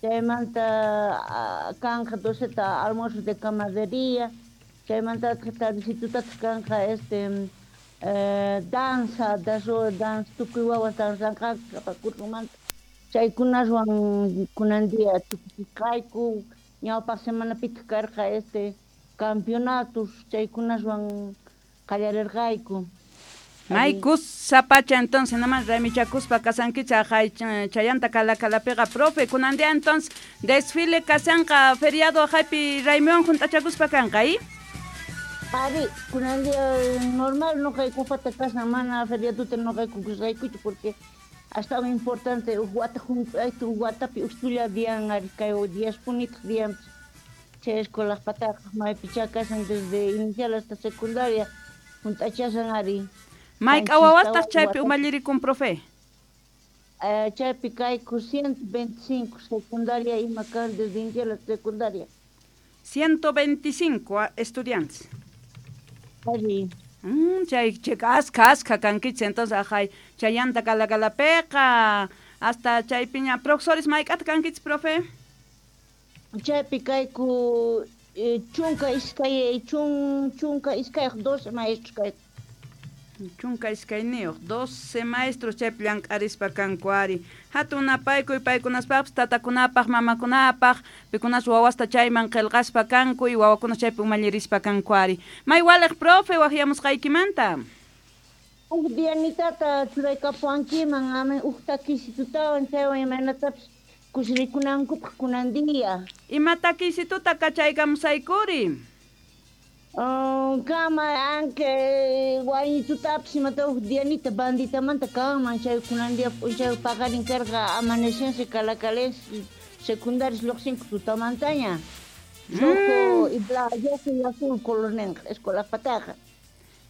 Chaymanta kanqa doceta almuerzo de camaradería, chaymantataq tardecitotataq kanqa este danza, danza tukuy wawas danzanqanku sapa cursomanta. Chaykunaswan kunan día tukuchisqayku, ñawpaq semanapitaq karqa este campeonatos, chaykunaswan qallarirqayku. May kusapacha entonces naman raymichakuspa kasankichik aqhay chayanta Calacalapiqa profe kunan día entonces desfile kasanqa feriado aqhaypi raymiwan junt'achakuspa kanqa y? Ari, kunan día normal noqaykupata kasan mana feriadota noqayku kusqaykuchu porque astawan importante uj wata junt'ayta uj watapi uj dian ari kay diaspunitaq dianpis chay escuelajpataqa maypichá kasan desde inicial hasta secundaria junt'achasan ari. Mayk'a wawastaq chaypi umallirikun profe? Chaypi kayku 125 secundaria ima kan desde inicial hasta secundaria. 125 estudiantes. Ari. Chay askha askha kankichik entonces aqhay chayanta Calacalapiqa hasta chaypiña profesores mayk'ata kankichik profe? Chaypi kayku 12 12 maestros kayku. 12 12 maestros chaypi llank'arispa kanku ari. Hatun napaykuy paykunaspaqpis tatakunapaq mamakunapaq pikunas wawasta chayman qillqaspa kanku y wawakuna chaypi umallirispa kanku ari. May waliq profe waqyamusqaykimanta. Uj dianitata churaykapuwankiman amin uj takisitutawan chaywan imaynatapis kusirikunankupaq kunan día. Ima takisituta kachaykamusaykuri? Kama anke wañitutapis imata uj dianita banditamanta kanman chay kunan día p'unchay paqarin karqa amanecense calacalense secundarios lluqsinku tutamantaña. Rojo y blanco, rojo y azul color ninqa escuelajpataqa.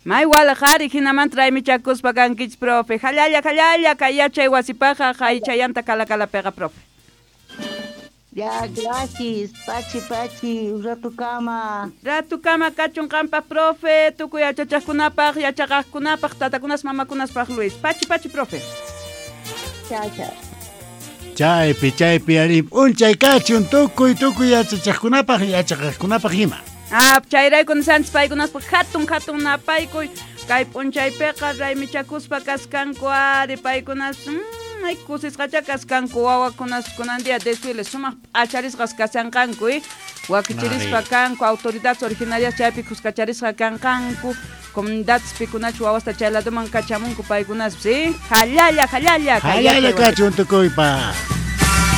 May waliq ari hinamanta raymichakuspa kankichik profe. Hallalla hallalla kay yachay wasipaqa hay chayanta Calacalapiqa profe. Ya, gracias. Pachi, pachi, ratukama. Ratukama kachun qanpaq profe, tukuy yachachaqkunapaq, yachaqaqkunapaq, tatakunas mamakunaspaq Luis. Pachi, pachi, profe. Chao, chao. Chaypi, chaypi, ari p'unchay kachun tukuy, tukuy yachachaqkunapaq, yachaqaqkunapaq ima. Ah, chayrayku nisanchis paykunaspaq hatun, hatun napaykuy. Kay p'unchaypiqa raymichakuspa kaskanku ari paykunas ay kusisqacha kaskanku wawakunas kunan día desfile sumaq p'acharisqas kasanqanku wakichirispa kanku autoridades originarias chaypi kuskacharisqa kanqanku comunidades pikunachu wawasta chay ladoman kachamunku paykunaspis hallalla hallalla hallalla kachun tukuypaq.